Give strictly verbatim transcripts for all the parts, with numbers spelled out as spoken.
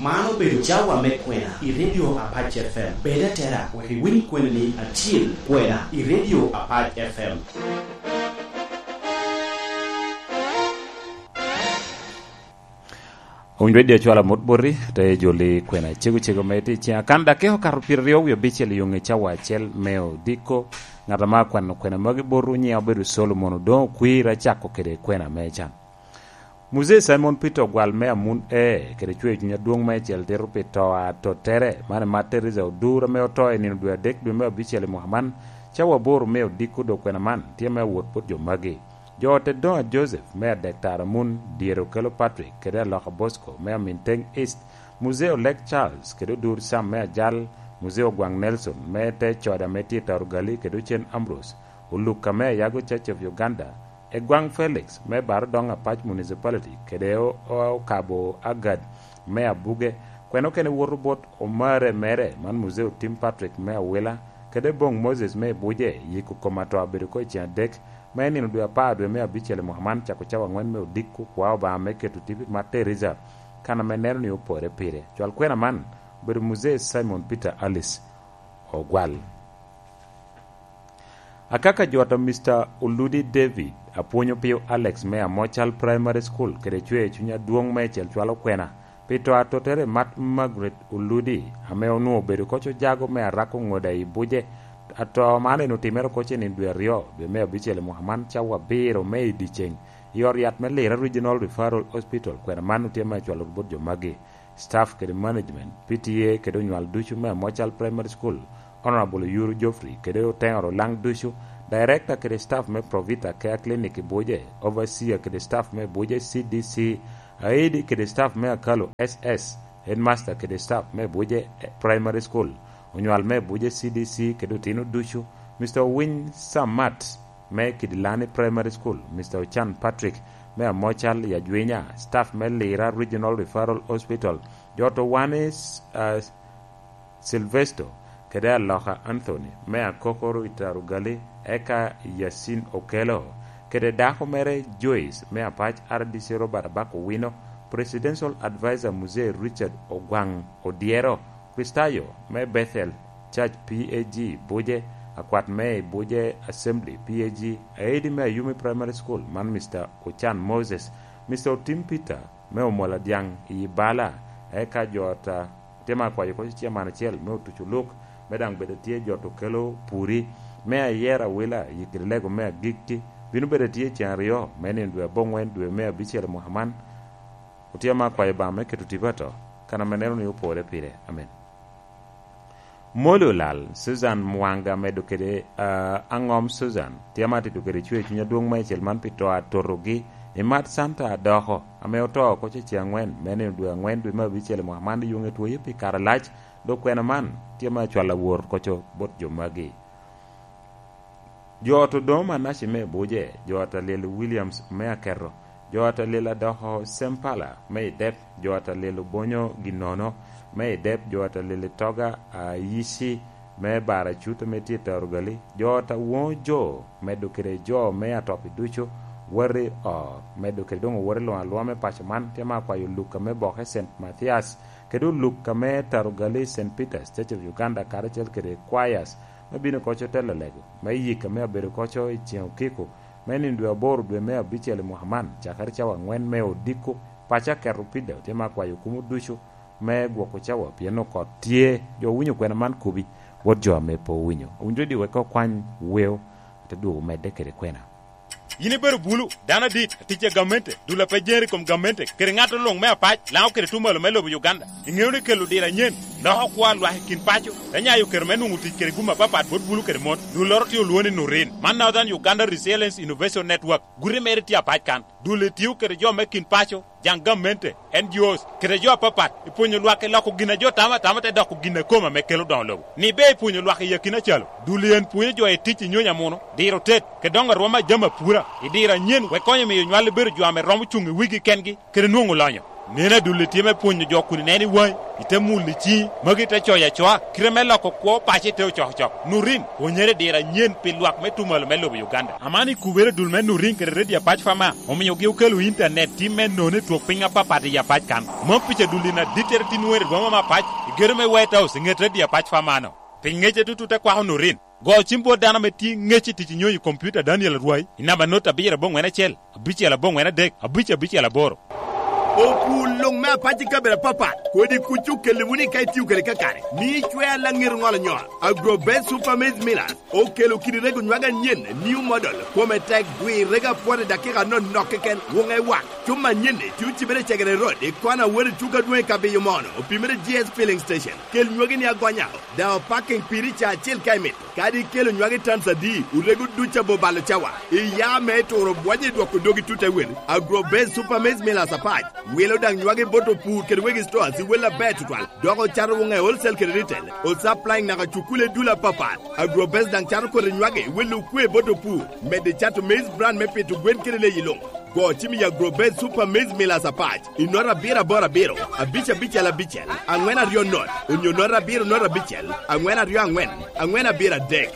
Man obedo cawa me kwena i Radio Apac F M. Bed atera wek iwiny kwena ni acil kwena i Radio Apac F M. Owinyo Radio cwalo amut boti, te joli kwena cego cego me tye i ciŋa. Kan dakika okato pyeraryo wie abicel i yoŋe cawa acel me odiko. Ŋat ame akwano kwena magi botwu nyiŋe obedo Solomon Odoŋo Okwir, acako kede kwena me can. Muzee Simon Peter Ogwal me Amun E kede cwer cuny adwoŋ meicel tito pi to a tottere, man i Mater Teresa Odur ame oto i nino dwe adek dwe me abicel i mwaka man, cawa aboro me odiko dok kwena man tye me awot bot jo magi. Jo ot Edonga Joseph me Adek Tara Amun, Dyere Okello Patrick kede Aloka Bosco me Aminteng East, Muzee Olek Charles kede Odur Sam me Ajal, Muzee Ogwaŋ Nelson me te coda me tye Tarugali kede Ocen Ambrose, Olukka me Ayago Church of Uganda, Egwaŋ Felix me Barodoŋ Apac Municipality kede o-, o-, Okabo Agad me Abuge, kwena okene woto bot omare mere man Muzee Otim Patrick me Awila, kede Boŋ Moses me Ibuje, yiko kom ato abedo oko i ceŋ adek, me nino dwe apar dwe me abicel i mwaka man, cako cawa aŋwen me odiko kwa Obaŋa me keto tipi Mater Teresa, kan ame neno ni opore pire. Cwal kwena man obedo Muzee Simon Peter Alice Ogwal. Akaka jot a Mister Oludi David, apwonyo pio Alex me Amocal Primary School kede cwer cuny adwoŋ meicel cwalo kwena pi to atottere Mat Margaret Oludi, ame onwoŋo obedo koc ojago me arako ŋoda i Buje. Ato man en otimere oko cenin dwe aryo, dwe me abicel i mwaka man, cawa abiro me i dyeceŋ, i ot yat me Lira Regional Referral Hospital. Kwena man otye me cwalo bot jo magi, staff kede management, P T A kede onywal ducu me Amocal Primary School, Honorable Oyuru Geoffrey kede Oteŋo Olaŋ ducu, director kede staff me Provita Care Clinic i Buje, overseer kede staff me Buje C D C, aidi kede staff me Akalo S S, headmaster kede staff me Buje Primary School, onywal me Buje C D C kede otino ducu, Mister Owiny Samat me Kidilani Primary School, Mister Ochan Patrick me Amocal i Ajwinya, staff me Lira Regional Referral Hospital, jot Owanis, ah, Silvesto, kede Aloka Anthony me Akokoro i Tarugali, eka Yasin Okello, kede dako mere Joyce me Apac R D C Robert Abak Owino, Presidential Advisor Muzee Richard Ogwaŋ Odyero, Kristayo me Bethel Church P A G Buje, akwat me i Buje Assembly P A G, aidi me Ayumi Primary School, man Mister Ochan Moses, Mister Otim Peter me Omola Dyaŋ i Bala, eka jo ata tye ma akwayo koc ciaman acel me otuco luk, me daŋ bedo tye jo to kelo puri, me ayera awila i kede lego me agikki, bino bedo tye ceŋ aryo me nino dwe aboŋwen dwe me abicel i mwaka man. Otye ma akwayo Obaŋa me keto tipo ato, kan ame neno ni opore pire. Amen. Moli olal, Susan Mwanga medo kede, ah, aŋom Susan, tye ma atito kede cwer cuny adwoŋ meicel man pi to atotogi, i Mat Santa Adoko, ame oto oko cece aŋwen, me nino dwe aŋwen dwe me abicel i mwaka man, i yoŋe twoye pi kare alac, dok kwena man tye ma acwalo awor koco bot jo magi. Jo ot Odongo Manaci me Buje, jo ot Alyel Williams me Aketo, jo ot Alyel Adoko Sempala me Idep, jo ot Alyel Obonyo Ginono me Idep, jo ot Alyel Toga Ayici me Baracut ame tye i Tarugali, jo ot Awoŋo Jo, medo kede jo me Atopi ducu, woti ot, medo kede doŋ owote luŋ alwoma me paco man, tye ma akwayo Luka me Boke Saint Mathias, kede Luka me Tarugali Saint Peter's Church of Uganda, karacel kede choirs, me bino koco telo lego, me yik ame abedo koco i ceŋ okiko, me nino dwe aboro dwe me abicel i mwaka man, cakere cawa aŋwen me odiko, paco aketo pida, otye ma akwayo kumo ducu, me gwoko cawa, pien okot tye, jo owinyo kwena man kubi, wot jo ame pe owinyo. Owinyo di wek okwany weo, te dwogo medde kede kwena. Yin ibedo bulu, dano adit, atic a gamente, dul a pe jeri i kom gamente, kede ŋat luŋ me apac, Laŋo kede tuŋ malo me lobo Uganda. Iŋeo ni kelo diro anyen, loko kwo a lwak i kin paco, te nyayo kero me nwoŋo tic kede gum apapat bot bulu kede mon. Dulloro tye olwoŋo ni Nurin. Man Northern Uganda Resilience Innovation Network. Guti mere tye apac kan. Dul etio kede jo me kin paco, jaŋ gamente, N G Os, kede jo apapat, i pwonyo lwak i loko gin a jo tamo atama te doko gin a kome ame kelo doŋo lobo. Ni ber i pwonyo lwak i akina calo, dul i en pwonyo jo i tic i nyony amuno, diro tet, kede doŋo arwom a jami apura, i diro anyen wek konyo miyo nywal i bedo jo ame romo cuŋ i wigi kengi, kede nwoŋo lonyo. Neno adulli tye me pwonyo jo kun ineno i waŋi, ite mulo i ciŋi, magi ite coyo acoa, kite me loko kwo paco ite ocokocok. Nurin, pwonyere i diro anyen pi lwak me tuŋ malo me lobo Uganda. Aman i kubere dul me Nurin kede Radio Apac Fama, omiogi okelo intanet tim me nono i twok piny apapat i Apac kan. Mom pica dul in adittere tin wero i boma me Apac, i gedo me White House, i ŋet Radio Apac Fama-no. Pi ŋecce tutu te kwako Nurin. Go cim bot dano ame tye ŋec i tic i nyonyo i kompiuta Daniel Arwai i namba not abiro aboŋwen acel, abicel aboŋwen adek, abic abicel aboro. Opur luŋ me apac i kabedo apapat, kodi kuc okelli wunu i ka itio kede kakare, mio icwea laŋet oŋolo nyol. Agrobet Super Maize Millers okelo kidi rego nywage anyen, new model, kome tek, gwir rego apwot i dakika anonok keken, wuŋe wak. Cuma anyen-ni tye ocibere i Cegere Road, i kona wot i tuko adwoŋ i Kabiyo Mono, opimere G S Filling Station. Kel nywagi ni agonya, daŋ opaking piri ca acel ka imito. Kadi ikelo nywagi tans adi, orego duc abo balo cawa. Iya me turo bwonye i dwoko dogi tut ewel. Agrobase Super Maize Millers Apac wilo daŋ nywagi bot opur kede wegi stores i wel aber tutwal, dok ocato woŋe wholesale kede retail. Osupplying naka cukule dul apapat. Agrobase daŋ cato kodi nywagi wilo okwe bot opur, medo cato maize bran me pito gwen kede leyi luŋ. Go cim i Agrobase Super Maize Millers Apac i nota abiro aboro abiro, abic abicel abicel, aŋwen aryo not, onyo nota abiro not abicel, aŋwen aryo aŋwen, aŋwen abiro adek.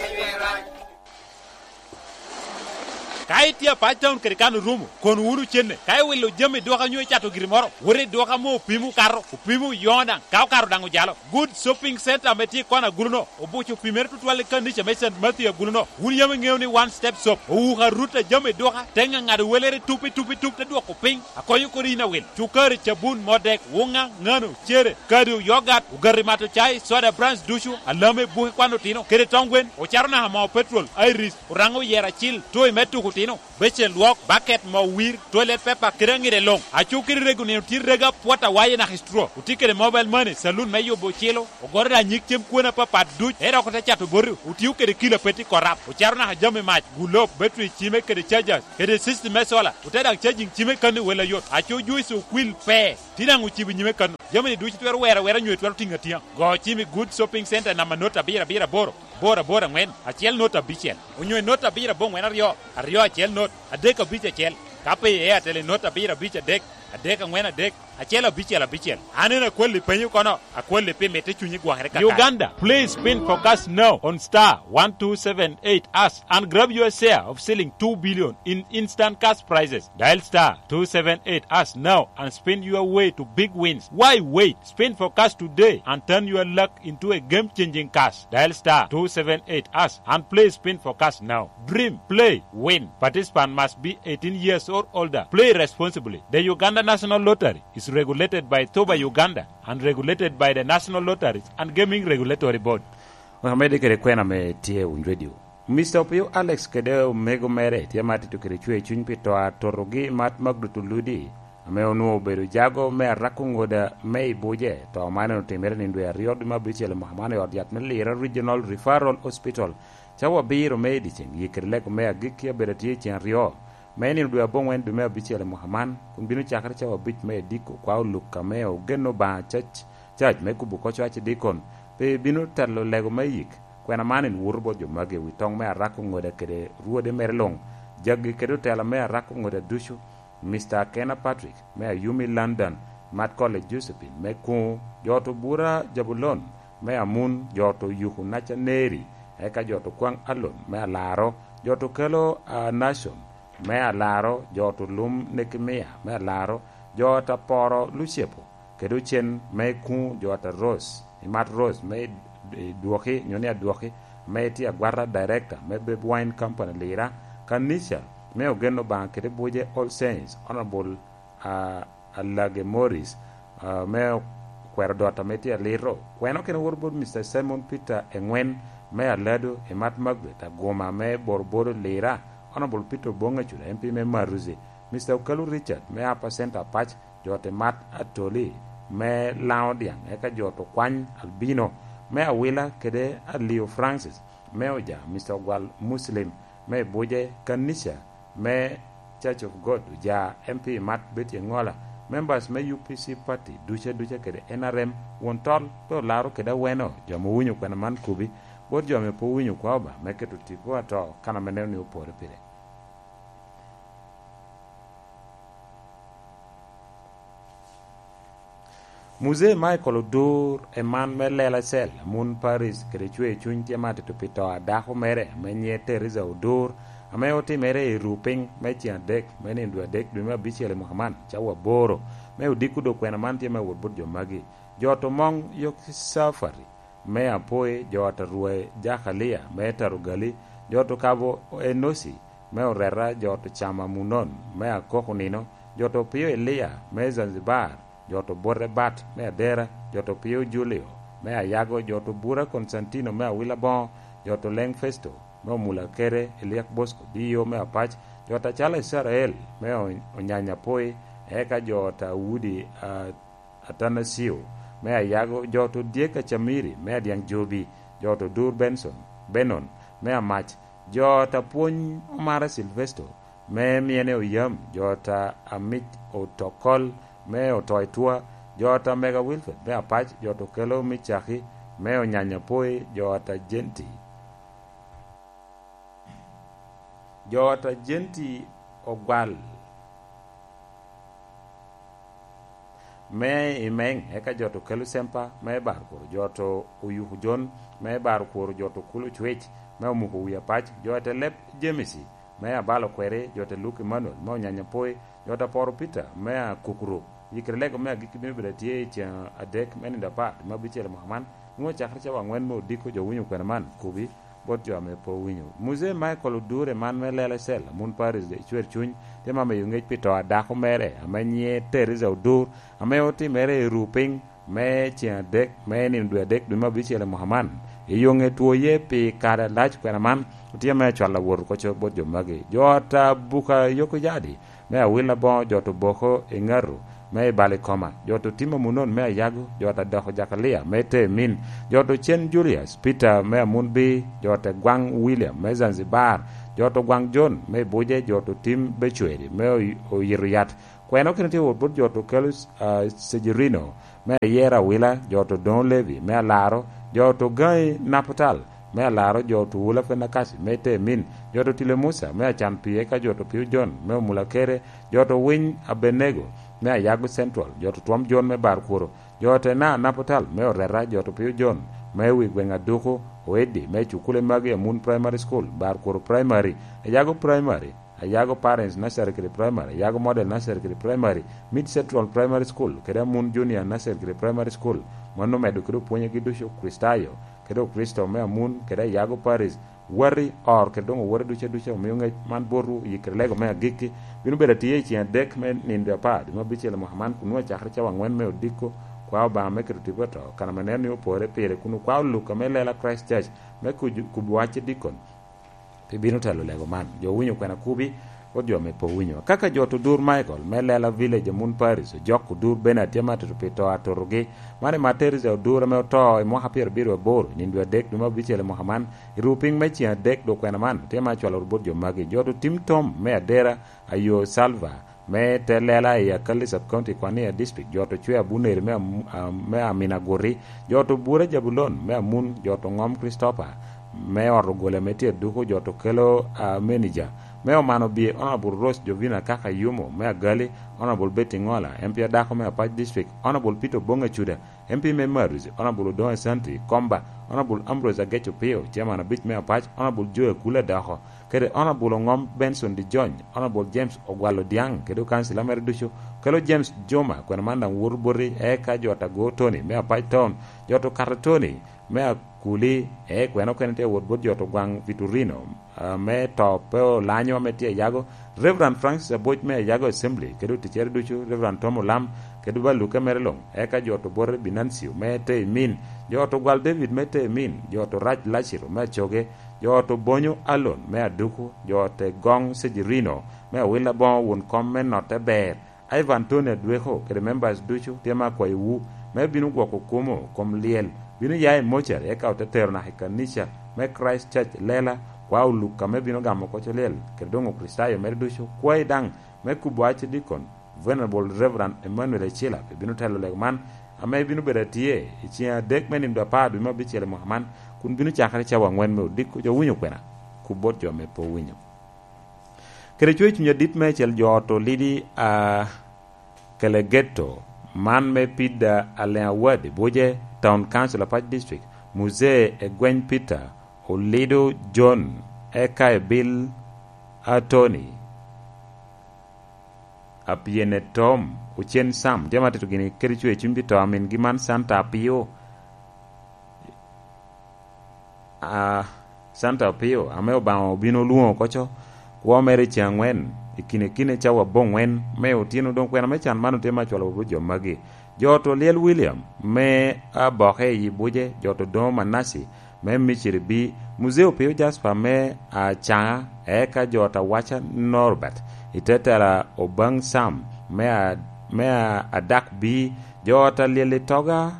Ka itye Apac Town kede kan orumo, kono wunu cenne. Ka iwilo jami i duka onyo icato giri moro, wot i duka ame opimo okato, opimo oyoŋo daŋ, ka okato daŋ ojalo. Good Shopping Center ame tye i kona agulu-no, obuco opimere tutwal i kanica me Saint Matthew agulu-no. Wun yam iŋeo ni One Step Shop owuko arut a jami i duka, te ŋaŋado welere tup i tup i tup, te dwoko piny, akonyo kodi yin awil. Cukari, cabun, modek, wuŋa, ŋano, cere, kado, yogat, ogati mato cai, soda brands ducu, alame, buke kwan otino, kede tong gwen, ocato naka moo petrol, Iris, oraŋo oyero acil, toy me tuko otino, becen lwok, baket, moo wir, toilet paper, kede aŋide luŋ. Aco kede rego nino tye rego apwot awaye naka i straw. Otye kede mobile money, saloon me yubo ocilo, ogoto daŋ nyig cem kwone apapat duc, ento dok ote cato boti, otio kede kilo apet i korap, ocato naka jami mac, gulob, battery cime kede chargers, kede system me solar, ote daŋ charging cime kano i wel ayot. Aco juice okwil pe, tye daŋ ocibo i nyime kano. Jami-ni ducu twero wero awera nyo twero tiŋo atiŋa. Go cim i Good Shopping Center namba not abiro abiro aboro, aboro aboro aŋwen, acel not abicel, onyo i not abiro aboŋwen aryo, aryo acel not, adek abic acel, ka pe i Airtel i not abiro abic adek, adek aŋwen adek, acel abicel abicel. An en akwalli penyo kono, akwalli pi mitte cunyi gwokere kakare. Uganda, please spin forecast now on star one two seven eight hash and grab your share of shilling two billion in instant cash prizes. Dial star two seven eight hash now and spin your way to big wins. Why wait? Spin forecast today and turn your luck into a game-changing cash. Dial star two seven eight hash and play spin forecast now. Dream, play, win. Participant must be eighteen years or older. Play responsibly. The Uganda National Lottery is regulated by Thoba Uganda and regulated by the National Lotteries and Gaming Regulatory Board. Amedde kede kwena me tye Wun Radio. Mister Opio Alex kede omego mere tye ma tito kede cwer cuny pi to a totogi mat Magdut Oludi, ame onwoŋo obedo jago me arako ŋoda me i buce. To man en otimere nino dwe aryo dwe me abicel i mwaka man i ot yat me Lira Regional Referral Hospital, cawa abiro me i dyeceŋ. Yie kede lego me agikki abedo atye i ceŋ aryo me nino dwe aboŋwen dwe me abicel i mwaka man, kun bino cakere cawa abic me ediko kwa oluk ame ogen Obaŋa cac, cac me kubo kocwa cidikon, pe bino telo lego me yik. Kwena man en woto bot jo magi i wi toŋ me arako ŋoda kede rwode mere luŋ, jaggi kede otela me arako ŋoda ducu, Mister Akena Patrick me Ayumi London, Mat College Josephine me Kuŋo, jo to bura Jabulon me Amun, jo to Yuku Naca Neri, eka jo to Kwaŋ Alon me Alaro, jo to Kelo, ah, Nashon me Alaro, jo to Lum Nekemia me Alaro, jo ta Poro Lucepo, kede ocen me Kuŋo, jo ta Rose, Imat Rose me i Dwoki, nyo ni Adwoki, me tye agwata director me Babe Wine Company Lira, kanica me ogen Obaŋa kede buce All Saints, Honorable, ah, Alage Morris, ah, me okwero dot ame tye alito. Kwena okene woto bot Mister Simon Peter Eŋwen me Alado, Imat Margaret Aguma me Borobodo Lira, Honorable Peter Obonga Cuda, M P me Maruzi, Mister Okalu Richard me Upper Centre Apac, jo te Mat Atoli me Laŋo Dyaŋ, eka jo to Kwany Albino me Awila kede Alio Francis me Oja, Mister Ogwal Muslim me Buje, kanica me Church of God Oja, M P Mat Betty Engola, members me U P C party duca duca kede N R M, won tol pe olaro kede aweno, jo ame owinyo kwena man kobi, bot jo ame pe owinyo kwa Obaŋa me keto tipo ato kan ame neno ni opore pire. Muzee Michael Odur, eman me Lela Cell, amun Paris, kede cwer cuny tye ma atito pi to a dako mere ame nyiŋe Teresa Odur, ame otimere i Rupiny me ceŋ adek me nino dwe adek dwe me abicel i mwaka man, cawa aboro, me odiko dok kwena man tye me wot bot jo magi. Jo to Moŋ Yok Cafari, me Apoi, jo ata Rwe Jakalia, me Tarugali, jo to Kabo Enosi, me Oreta, jo to Cama Munon, me Akoko Nino, jo to Pio Elia, me Zanzibar, jo to Bote Bat, me Adera, jo to Pio Julio, me Ayago, jo to Bura Konstantino, me Awila Boŋo, jo to Leŋ Festo, me Omula Kere, Eliak Bosco, D O me Apac, jo to Acalo Icrael, me O-, Onyanya Apoi, eka jo to Awudi, a, Atanasio, me Ayago, jo to Dyek Acamiri, me Adyaŋ Jobi, jo to Dur Benson, Benon, me Amac, jo to Apwony Omara Silvesto, me Myene Oyam, jo to Amic Otokol, me Oto Itwa, jo to Mega Wilfred, me Apac, jo to Kelo Micaki, me Onyanya Poi, jo to Jenti, jo to Jenti Ogwal, me i Meŋ, eka jo to Kelo Sempa, me Barkworo, jo to Oyuku Jon, me Barkworo, jo to Kulo Cwec, me Omuko Wi Apac, jo te Leb Jemisi, me Abalo Kweri, jo te Luk Emmanuel, me Onyanya Poi, jo te Poro Peter, me Akukuru. Yikere lego me agikki bino bedo atye i ceŋ adek me nino apar, me abicel i mwaka man. Nwoŋo cakere cawa aŋwen me odiko jo winyo kwena man, kubi, bot jo ame pe owinyo. Muzee Michael Odure man me Lela Cell, amun Paris, de Cwer Cuny, tye ma miyo ŋec pi to a dako mere, ame nyiŋe Teresa Odur, ame otimere i Rupiny me ceŋ adek, me nino dwe adek dwe me abicel i mwaka man. I yo ŋe twoye pi kare alac kwena man, otye me acwal awot oko co bot jo magi. Jo ata Buka Yoko Jadi, me Awil Aboŋo, jo to Boko i Ŋaru, me i Balikoma, jo to Tim Amunon, me Ayago, jo ta Doko Jakalia, me Temin, jo to Cen Julius, Peter, me Amunbi, jo te Gwaŋ William, me Zanzibar, jo to Gwaŋ John, me Buje, jo to Tim Becweri, me Oy-, Oyito Yat. Kwena okene tye wot bot jo to Kelus, ah, Sejirino, me Ayera Awila, jo to Doŋo Levi, me Alaro, jo to Gaŋi Naputal, me Alaro, jo to Wula Fenakasi, me Temin, jo to Tile Musa, me Acan Pii, eka jo to Pio John, me Omula Kere, jo to Winy Abenego, me Ayago Central, jo to Twom John, me Barkworo, jo to Ena Naputal, me Oreta, jo to Pio John, me wi gweŋ Aduku, Oeddi, me Cukule magi, Amun Primary School, Barkworo Primary, Ayago Primary, Ayago Parents Nursery kede Primary, Ayago Model Nursery kede Primary, Mid Central Primary School, kede Amun Junior Nursery kede Primary School. Mano omedo kede opwonyegi ducu Kricitayo, kede Okricito me Amun, kede Ayago Parish, wati, or, kede doŋ owote ducu aduca. Omio ŋec man botwu, yikere lego me agikki. Bino bedo atye i ceŋ adek me nino dwe apar, dwe me abicel i mwaka man, kun nwoŋo cakere cawa aŋwen me odiko, kwa Obaŋa me keto tipo i to, kan ame neno ni opore pire, kun okwa oluk ame lela Christ Church, me kuj-, kubo wacce dikon. Pi bino telo lego man. Jo owinyo kwena kubi, ot jo ame pe owinyo. Kaka jo to Odur Michael, me Lela Village, Amun Paris, ojok Odur Bernard tye ma tutu pi to atotogi. Man i Materis Odur ame oto i mwaka pyerabiro aboro, nino dwe adek dwe me abicel i mwaka man, i ruu piny me ceŋ adek dwe kwena man, tye ma acwalo bot jo magi. Jo to Tim Tom, me Adera, Ayo Salva, me te lela i Akali Sub-County, Kwania District, jo to Cwe Abuneri me Am-, ah, me Amina Guri, jo to Bura Jabulon me Amun, jo to Ŋom Christopher, me ot ogole ame tye Aduku, jo to Kelo, ah, Menija, me Omano Bye, Honorable Rose Jovina Kaka Yumo me Agali, Honorable Betty Ŋola, M P adako me Apac District, Honorable Peter Oboŋ Acuda, M P me Maris, Honorable Odoŋo Asante Komba, Honorable Ambrose Agec Opio, Chairman abic me Apac, Honorable Joe Akula Doko, kede Honorable Oŋom Benson Dijony, Honorable James Ogwal Odiaŋ, kede okansila mere ducu, kelo James Juma, kwena man daŋ woto boti, eka jo ta Go Tony me Apac Town, jo to Kato Tony me Akuli, e kwena okene tye wot bot jo to Gwaŋ Vitorino, ah, me to pe olanyo ame tye Ayago, Reverend Francis Aboc me Ayago Assembly, kede oticere ducu, Reverend Tom Olam, kede baluke mere luŋ, eka jo to Bwore Binancio me Teemin, jo to Gwal David me Teemin, jo to Rac Laciro me Acoge, jo to Bonyo Alon me Aduku, jo te Goŋ Sejirino me Awil Aboŋo, won kom me Notte Ber, Ivan Tony Adweko kede members ducu tye me akwayowu me bino gwoko kumo kom lyel, bino ya i mocari, eka ote tero naka i kanica me Christ Church Lela, kwa oluk ame bino gamo koc olyel, kede doŋ Okricitayo mere ducu, kwayi daŋ me kubo wacce dikon, Venerable Reverend Emmanuel Ecila, pe bino telo lego man, ame bino bedo atye i ceŋ adek me nino apar dwe me abicel i mwaka man, kun bino cakere cawa aŋwen me odiko. Jo winyo kwena? Kub bot jo ame pe owinyo. Kede cwer cuny adit meicel, jo ot Olidi, ah, Kelegeto, Man me Pida Aleŋ Awadi, Buje, Town Council, Apac District, Muzee Egweny Peter, Olido John, eka Ebil Atoni, Apyene Tom, Ocen Sam, jami atito gini kede cwe cuny pi to a mingi man Santa Apio. A, Santa Opio, ame Obaŋa obino olwoŋo oko co, kwo mere i ceŋ aŋwen, i kine kine cawa aboŋwen me otyeno. Doŋ kwena me can man otye me acwalo bot jo magi: jo oto Lyel William me Aboke i Buje, jo oto Doŋo Manasi me Miciri B, Muzee Opio Jasper me Acaŋa, eka jo oto Awaca Norbert, i te tela Obaŋ Sam me a-, me a-, Adak B, jo oto Lyel Itoga,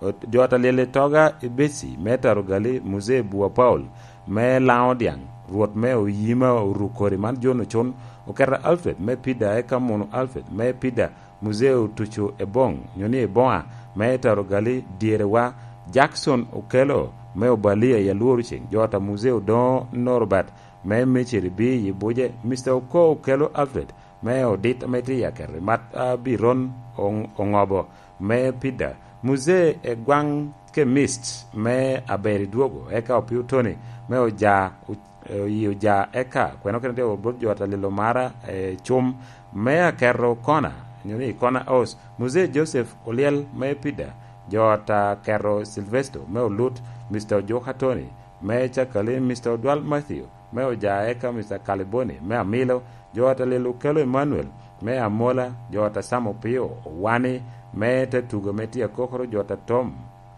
Ot-, jo oto Lyel Itoga Ebeci me Tarogali, Muzee Bua Paul me Laŋo Dyaŋ, Rwot me Oyima Orukori man John Ocun, Oketa Alfred me Pida eka Munu Alfred me Pida, Muzee Otucu Eboŋ, nyo ni Eboŋa me Tarogali, Dyerewa Jackson Okelo me Obalia i Alworo Ceŋ, jo oto Muzee Odoŋo Norbert me Miciri B i Buje, Mister Oko Okelo Alfred me Odit ame tye i Akerri, Mat Abiron Oŋ-, Oŋobo me Pida, Muzee Egwaŋ Kemist me Aber i Dwogo, eka Opio Tony me Oja, o-, oyi Oja, eka kwena okene tye bot jo oto Lyel Omara, e, Cum me Akerro Kona, nyo ni Kona House, Muzee Joseph Olyel me Pida, jo oto Akerro Silvesto me Olut, Mister Ojuka Tony me Cakali, Mister Odwal Matthew me Oja, eka Mister Kaliboni me Amilo, jo oto Lyel Okelo Emmanuel me Amola, jo oto Sam Opio Owani me te tugo me tye akokoro, jo oto Tom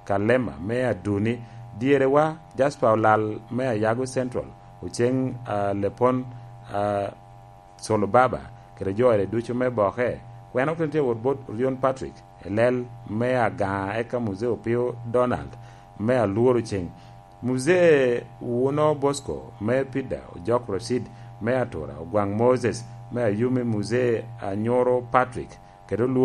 Kalema me Aduni, Dyerewa Jasper Olal me Ayago Central, Oceng, a, Lepon, a, Solo Baba, kede jo ode ducu me Boke. Kwena okene tye wot bot Orion Patrick, Elel me Agaŋa, eka Muzee Opio Donald me Alworo Ceŋ, Muzee Wuno Bosco me Pida, Ojok Rashid me Atura, Ogwaŋ Moses me Ayumi, Muzee Anyoro Patrick, kede Olwo